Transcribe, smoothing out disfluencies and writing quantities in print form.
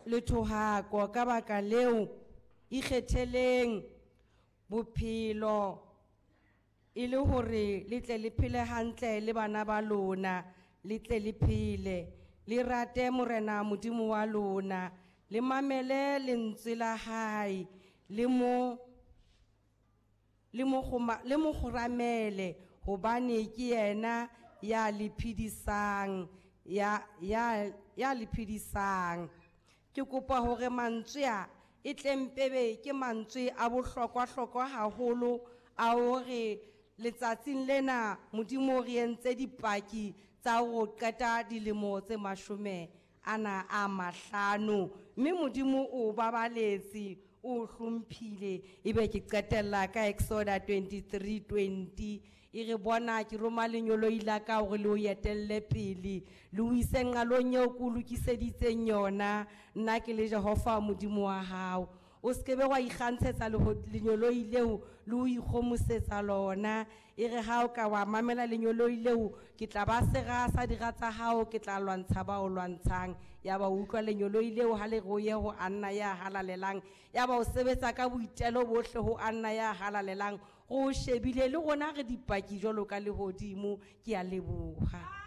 Le thohako. Ka baka leo, ikgetheleng bophelo e le hore le tle le phele hantle le bana ba lona, le tle le phele. Le rate Morena Modimo wa lona, le mamele lentswe la hae, le mo le mo kgoma- le mo kgoramele hobane ke yena ya le phedisang ya ya ya le phedisang. Ke kopa hore mantswe a e tlempebe ke mantswe a bohlokwa-hlokwa haholo a hore letsatsing lena Modimo o re entse dipaki tsa ho qeta dilemo tse 55, mme Modimo o babaletse, o hlomphile. Ebe ke qetella ka Exoda 23:20 e re bona ke roma lenyoloi la ka hore le o etelle pele, le o ise nqalong eo ke o lokiseditseng yona, nna ke le Jehova Modimo wa hao. O se ke be wa ikgantshetsa lenyoloi leo le ho ikgomosetsa lona. E re ha o ka wa mamela lenyoloi leo, ke tla ba sera sa dira tsa hao, ke tla lwantsha ba o lwantshang. Ya ba utlwa lenyoloi leo ha le re o ye ho Anna ya halalelang, ya ba o sebetsa ka boitelo bohle ho Anna ya halalelang. Re o shebile le rona re dipaki jwalo ka lehodimo. Ke a leboha.